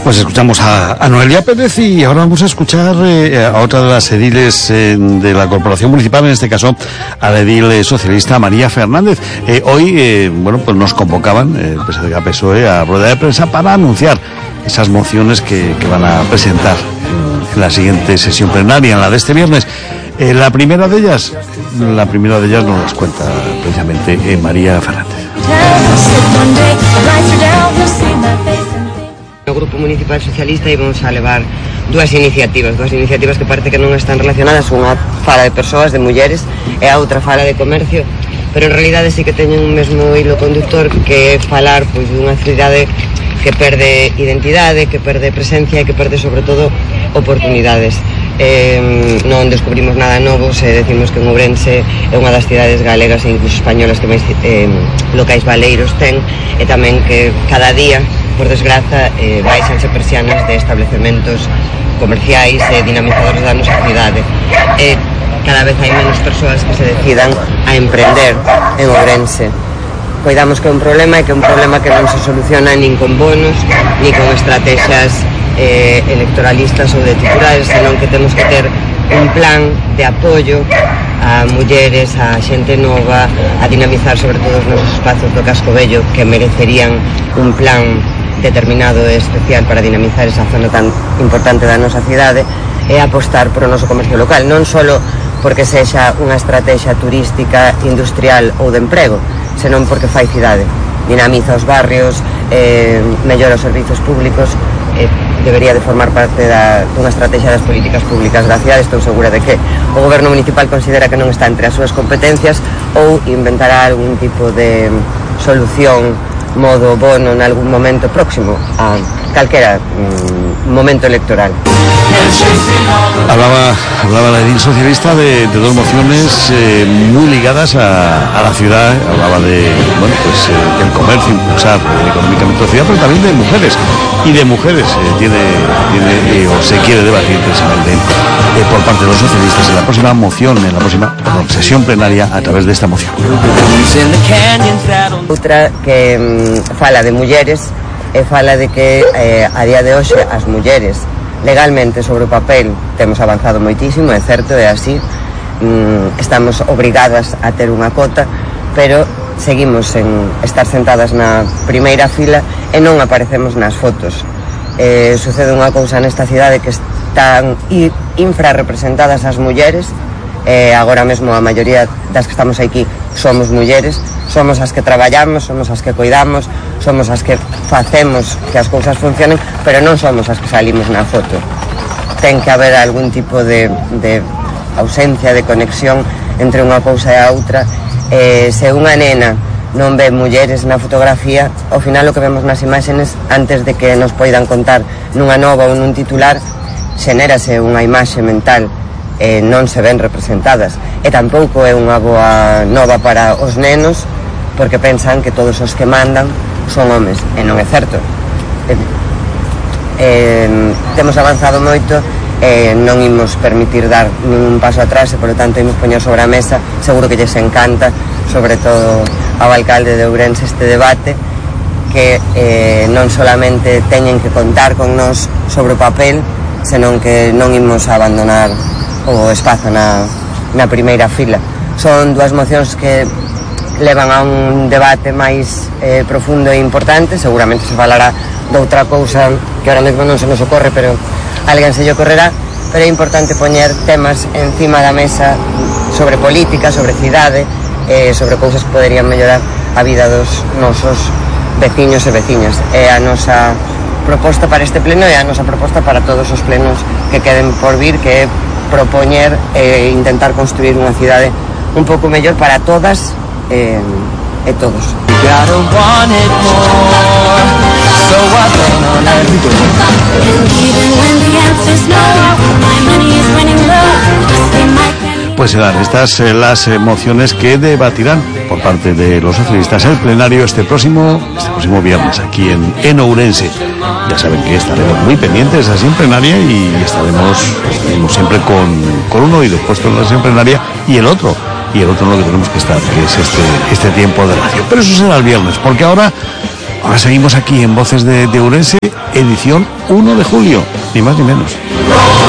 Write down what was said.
Pues escuchamos a Noelia Pérez y ahora vamos a escuchar a otra de las ediles de la Corporación Municipal, en este caso a la edil socialista María Fernández. Hoy, pues nos convocaban, el PSDG PSOE, a rueda de prensa para anunciar esas mociones que van a presentar en la siguiente sesión plenaria, en la de este viernes. La primera de ellas nos las cuenta precisamente María Fernández. No Grupo Municipal Socialista íbamos a levar dúas iniciativas que parece que non están relacionadas. Unha fala de persoas, de mulleres, e a outra fala de comercio, pero en realidade sí que teñen un mesmo hilo conductor, que é falar pois dunha cidade que perde identidade, que perde presencia e que perde sobre todo oportunidades. Non descubrimos nada novo se decimos que en Ourense é unha das cidades galegas e incluso españolas que máis locais baleiros ten, e tamén que cada día, por desgraza, baixanse persianas de establecementos comerciais e dinamizadores da nosa cidade. Cada vez hai menos persoas que se decidan a emprender en Ourense. Coidamos que é un problema, e que é un problema que non se soluciona nin con bonos, nin con estrategias electoralistas ou de titulares, senón que temos que ter un plan de apoio a mulleres, a xente nova, a dinamizar sobre todo os nosos espazos do Casco Vello, que merecerían un plan determinado e especial para dinamizar esa zona tan importante da nosa cidade, e apostar por o noso comercio local, non só porque sexa unha estrategia turística, industrial ou de emprego, senón porque fai cidade, dinamiza os barrios, mellora os servizos públicos, debería de formar parte dunha estrategia das políticas públicas da cidade. Estou segura de que o goberno municipal considera que non está entre as súas competencias, ou inventará algún tipo de solución, modo bono, en algún momento próximo a calquera momento electoral. Hablaba la edil socialista de dos mociones muy ligadas a la ciudad. Hablaba de el comercio, impulsar económicamente la ciudad, pero también de mujeres. Y de mujeres tiene o se quiere debatir precisamente por parte de los socialistas en la próxima moción, en la próxima sesión plenaria, a través de esta moción. Outra que fala de mulleres e fala de que a día de hoxe as mulleres legalmente sobre o papel temos avanzado moitísimo, é certo, é así, estamos obrigadas a ter unha cota, pero seguimos en estar sentadas na primeira fila e non aparecemos nas fotos. Sucede unha cousa nesta cidade, que están infrarrepresentadas as mulleres. Agora mesmo a maioría das que estamos aquí somos mulleres, somos as que traballamos, somos as que coidamos, somos as que facemos que as cousas funcionen, pero non somos as que salimos na foto. Ten que haber algún tipo de ausencia de conexión entre unha cousa e a outra. Se unha nena non ve mulleres na fotografía, ao final o que vemos nas imaxes, antes de que nos poidan contar nunha nova ou nun titular, xenérase unha imaxe mental, non se ven representadas, e tampouco é unha boa nova para os nenos, porque pensan que todos os que mandan son homes, e non é certo. Temos avanzado moito, non imos permitir dar ningún paso atrás, e polo tanto imos poñer sobre a mesa, seguro que lles encanta, sobre todo ao alcalde de Ourense, este debate, que non solamente teñen que contar con nós sobre o papel, senón que non imos abandonar o espazo na primeira fila. Son dúas mocións que levan a un debate máis profundo e importante. Seguramente se falará de outra cousa que ahora mesmo non se nos ocorre, pero alguén se lle ocorrerá. Pero é importante poñer temas encima da mesa sobre política, sobre cidade, sobre cousas que poderían mellorar a vida dos nosos veciños e veciñas. É a nosa proposta para este pleno, e a nosa proposta para todos os plenos que queden por vir, que é propoñer e intentar construir unha cidade un pouco mellor para todas e todos. Pues serán estas las mociones que debatirán por parte de los socialistas el plenario este próximo viernes aquí en Ourense. Ya saben que estaremos muy pendientes de la sesión plenaria y estaremos siempre con un oído puesto en la sesión plenaria y el otro en lo que tenemos que estar, que es este tiempo de radio. Pero eso será el viernes, porque ahora Ahora seguimos aquí en Voces de Ourense, edición 1 de julio, ni más ni menos.